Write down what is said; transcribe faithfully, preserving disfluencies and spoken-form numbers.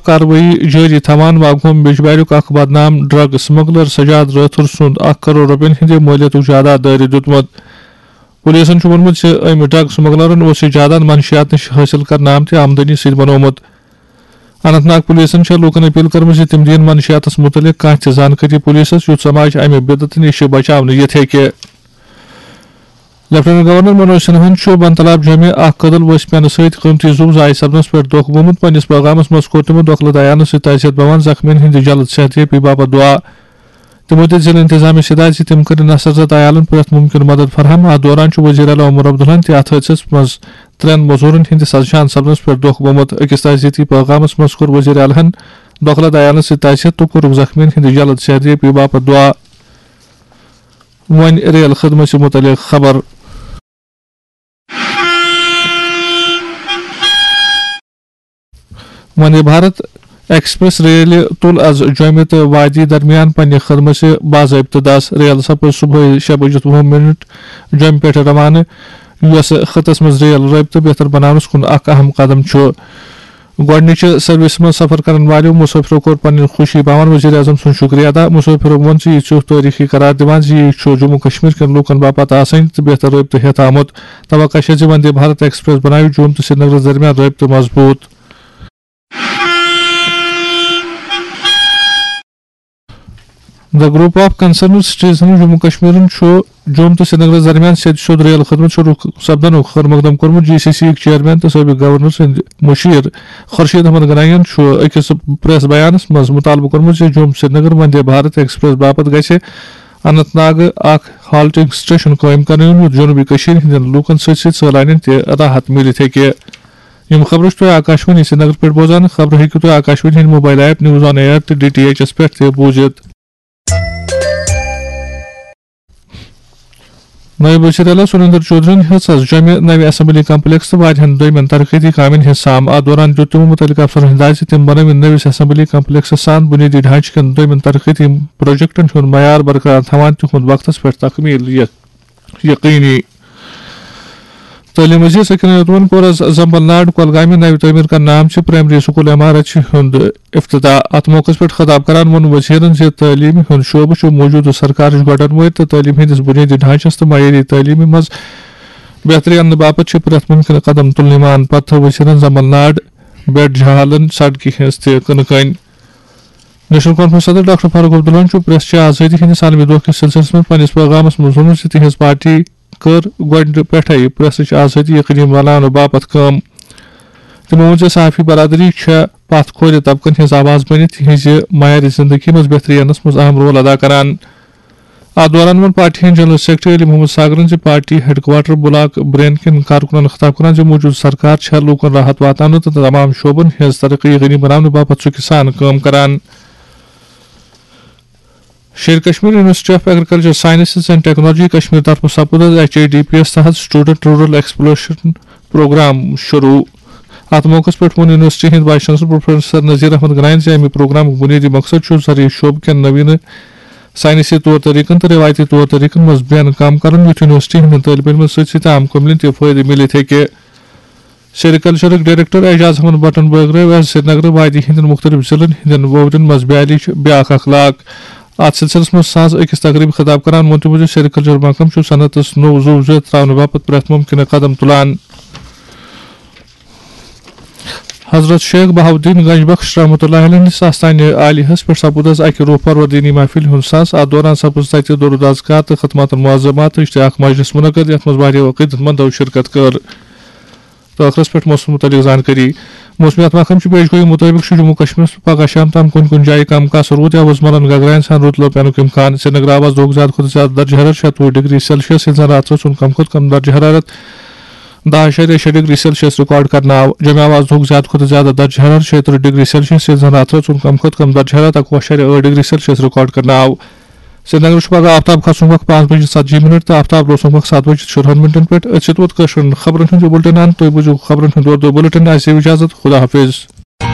کاروٲیی جٲری تھاوان۔ واگہوم بیجباریُک اکھ بدنام ڈرگ سمگلر سجاد رٲتھر سُنٛد اکھ کرور رۄپین ہٕنٛدِ مٲلیتُک جائیداد دٲرِتھ دیُتمُت۔ پولیسَن چھُ ووٚنمُت زِ أمۍ ڈرگ سمگلرَن اوس یہِ جائیداد منشیات نِش حٲصِل کرنہٕ آمتہِ آمدنی سۭتۍ بنوومُت۔ اننت ناگ پولیسَن چھےٚ لوٗکَن اپیل کٔرمٕژ زِ تِم دِیِن منشیاتَس مُتعلِق کانٛہہ تہِ زانکٲری پولیسَس، یُتھ سماج اَمہِ بدعتہٕ نِش بچاونہٕ یِتھ ہیٚکہِ۔ لیفٹیننٹ گورنر منوج سنہاہن چھُ بن تلاب جوٚمہِ اکھ کٔدٕل ؤسۍ پٮ۪نہٕ سۭتۍ قۭمتی زُو ضایع سپدنس پٮ۪ٹھ دۄکھ گوٚمُت۔ پننِس پیغامس منٛز کوٚر تِمو دۄکھلہٕ دیانہٕ سۭتۍ تعزیت باوان زخمیَن ہٕنٛدِ جلد صحت یٲبی باپتھ دعا۔ تِمو دِژ ضلع انتظامیہ سۭتۍ زِ تِم کٔرِن اثر زد عیالن پرٛٮ۪تھ مُمکِن مدد فراہم۔ اتھ دوران چھُ وزیر اعلیٰ عمر عبداللہن تہِ اتھ حٲدثس منٛز ترٛٮ۪ن مزورن ہٕنٛدِ سزشان سپدنس پٮ۪ٹھ دۄکھ گوٚمُت۔ أکِس تعزیتی پیغامس منٛز کوٚر وزیر اعلیٰ ہن دۄکھلہٕ دیانہٕ سۭتۍ تعزیت تہٕ کوٚرُکھ زخمیَن ہٕنٛدِ جلد صحت یٲبی باپتھ دعا۔ وۄنۍ ریل خدمژِ مُتعلق خبر۔ وندے بھارت ایکسپریس ریلہِ تُل از جوٚمہِ تہٕ وادی درمیان پننہِ خدمژِ باضٲبطہٕ دس۔ ریل سپٕز صبحٲے شےٚ بجِتھ وُہ منٹ جوٚمہِ پٮ۪ٹھ روانہٕ، یۄس خطس منٛز ریل رٲبطہٕ بہتر بناونس کُن اکھ اہم قدم چھُ۔ گۄڈٕنِچہِ سروسہِ منٛز سفر کرن والٮ۪و مسافرو کوٚر پنٕنۍ خوشی باوان وزیر اعظم سُنٛد شکریہ ادا۔ مسافرو ووٚن زِ یہِ ژیوٚٹھ تٲریخی قرار دِوان زِ یہِ چھُ جموں کشمیر کٮ۪ن لوٗکن باپتھ آسٲنی تہٕ بہتر رٲبطہٕ ہٮ۪تھ آمُت۔ توقع چھےٚ زِ وندے بھارت ایکسپریس بناوِ جوٚم تہٕ سرینگرس درمیان رٲبطہٕ مضبوٗط۔ The Group of Concerned Citizens Jammu کشمیرن چھُ جوٚم تہٕ سرینگرس درمیان سیٚدِ سیوٚد ریل خدمت شروع سپدنُک خٲر مقدم کوٚرمُت۔ جی سی سی یِکۍ چیئرمین تہٕ سٲبق گورنر سٕنٛدۍ مُشیر خورشید احمد گنایی یَن چھُ أکِس پریس بیانس منٛز مُطالبہٕ کوٚرمُت زِ جوٚم سرینگر وندے بھارت ایکسپریس باپتھ گژھِ اننت ناگہٕ اکھ ہالٹنگ سٹیشن قٲیِم کرنہٕ یُن، یُتھ جنوٗبی کٔشیٖرِ ہٕنٛدٮ۪ن لوٗکن سۭتۍ سۭتۍ سٲلانٮ۪ن تہِ راحت میٖلِتھ ہیٚکہِ۔ یِم خبرٕ چھِ تُہۍ آکاشوانی سرینگر پٮ۪ٹھ بوزان۔ خبرٕ ہیٚکِو تُہۍ آکاشوانی ہٕنٛدِ mobile app news on air تہٕ ڈی ٹی ایچ ایس پٮ۪ٹھ تہِ بوٗزِتھ۔ نٲیِب وزیر اعلیٰ سُریندر چودھرین ہیٚژ از جوٚمہِ نوِ اسمبلی کمپلیکس تہٕ واریاہن دوٚیمٮ۪ن ترقیتی کامٮ۪ن ہٕنٛز سام۔ اتھ دوران دیُت تِمو مُتعلقہٕ افسرن ہدایت زِ تِم بنٲوِن نٔوِس اسمبلی کمپلیکسس سان بُنیٲدی ڈھانچہٕ کٮ۪ن دوٚیمٮ۪ن ترقیتی پروجیکٹن ہُنٛد معیار برقرار تھاوان تِہُنٛد وقتس پٮ۪ٹھ تکمیل یقینی۔ تعلیم وزیر سکین احمد لون کوٚر از زمبل ناڈ کۄلگامہِ نوِ تعمیٖر کرنہٕ آمژِ پرائمری سکول عمارتہِ ہُنٛد افتتاح۔ اتھ موقعس پٮ۪ٹھ خطاب کران ووٚن وزیرن زِ تعلیمہِ ہُنٛد شعبہٕ چھُ موجودٕ سرکارٕچ گۄڈن وٲرۍ تہٕ تعلیمہِ ہٕنٛدِس بُنیٲدی ڈھانچس تہٕ معیٲری تعلیمہِ منٛز بہتری اننہٕ باپتھ چھِ پرٛٮ۪تھ مُمکِنہٕ قدم تُلنہٕ یِوان۔ پتہٕ تھٲو وزیرن زمبل ناڈ بیٹ جہالن سڑکہِ ہٕنٛز تہِ کٕنہٕ کٔنۍ۔ نیشنل کانفرنس صدر ڈاکٹر فاروق عبداللہن چھُ پریس چہِ آزٲدی ہٕنٛدِس عالمی دۄہ کِس سلسلس منٛز پننِس پیغامس منٛز ووٚنمُت زِ تِہنٛز پارٹی کٔر گۄڈٕ پٮ۪ٹھے پریسٕچ آزٲدی یقینی بناونہٕ باپتھ کٲم۔ تِمو ووٚن زِ صحافی برادری چھےٚ پتھ کھورِ طبقن ہٕنٛز آواز بٔنِتھ تِہنٛزِ معیارِ زندگی منٛز بہتری اننس منٛز اہم رول ادا کران۔ اتھ دوران ووٚن پارٹی ہٕنٛدۍ جنرل سیکرٹری علی محمد ساگرن زِ party headquarter block Brein کٮ۪ن کارکُنن خطاب کران زِ موجودٕ سرکار چھےٚ لوٗکن راحت واتناونہٕ تہٕ تمام شعبن ہٕنٛز ترقی یقینی بناونہٕ باپتھ ژُکہِ سان کٲم کران۔ Sher Kashmir university of agriculture sciences and technology Kashmir طرفہٕ سپُد از ایچ اے ڈی پی یس تحت اسٹوڈنٹ رورل ایکسپلوریشن پروگرام شروع۔ اتھ موقعس پٮ۪ٹھ ووٚن یونیورسٹی ہٕنٛدۍ vice chancellor professor Nazir Ahmad گنائن زِ امہِ پروگرامُک بُنیٲدی مقصد چھُ زرعی شعبہٕ کٮ۪ن نوینہٕ سائنسی طور طریقن تہٕ روایتی طور طریقن منٛز بین کام کرُن، یُتھ یونیورسٹی ہٕنٛدٮ۪ن طٲلب علمن سۭتۍ سۭتۍ عام قومن تہِ فٲیدٕ میٖلِتھ ہیٚکہِ۔ سیریکلچرٕکۍ ڈائریکٹر اعجاز احمد بٹن بٲگرٲو از سرینگر وادی ہٕنٛدٮ۪ن مُختٔلِف ضلعن ہٕنٛدٮ۪ن وۄورٮ۪ن منٛز بیالِچ بیاکھ اکھ لاگ۔ اتھ سلسلس منٛز ساز أکِس تقریبہِ خطاب کران ووٚن تِمو زِ سیریکلچر محکمہٕ چھُ صنعتس نوٚو زُو زیٚتھ تراونہٕ باپتھ پرٛٮ۪تھ مُمکنہٕ قدم تُلان۔ حضرت شیخ بہاؤالدین گنج بخش رحمۃ اللہ علیہ ہٕنٛدِس آستانہِ عالیہس پٮ۪ٹھ سپُد از اکہِ روح پرور دینی محفلہِ ہُنٛد ساز۔ اتھ دوران سپٕز تتہِ درود اذکار تہٕ خدمات معظماتٕچ تہِ اکھ مجلس منعقد، یتھ منٛز واریاہو عقیدت مندو شرکت کٔر۔ تہٕ ٲخرس پٮ۪ٹھ موسمس مُتعلق زانکٲری۔ موسمیات محکمہٕ چہِ پیش گویی مُطٲبِق چھُ جموں کشمیرس منٛز پگہہ شام تام کُنہِ کُنہِ جایہِ کم کس رُد یا وُزملن گگراین سان رُد لو پینُک امکان۔ سرینگر آو از دۄہُک زیادٕ کھۄتہٕ زیادٕ درجہ حرارت شیٚتوُہ ڈگری سیلسیس، ییٚلہِ زن راتس اوس کم کھۄتہٕ کم درجہ حرارت دَہ اعشاریہ شےٚ ڈگری سیلسیس ریکارڈ کرنہٕ آو۔ جوٚمہِ آو از دۄہُک زیادٕ کھۄتہٕ زیادٕ درجہ حرارت شیٚیہِ ترٕٛہ ڈگری سیلسیس، ییٚلہِ زن راتس اوس کم کھۄتہٕ کم درجہ حرارت اَکوُہ اعشاریہ ٲٹھ ڈگری سیلسیس ریکارڈ کرنہٕ آو۔ سرینگرٕ چھُ پگہہ آفتاب کھسنُک وقت پانٛژھ بجے ژتجی منٹ تہٕ آفتاب لوسنُک وقت ستھ بجے ژۄدہَن منٹن پٮ۪ٹھ۔ أتھۍ سۭتۍ ووت کٲشرٮ۪ن خبرن ہُنٛد یہِ بُلٹن اند۔ تُہۍ بوٗزِو خبرن ہُنٛد اردو بُلٹن۔ اَسہِ دِیِو اجازت۔ خدا حافظ۔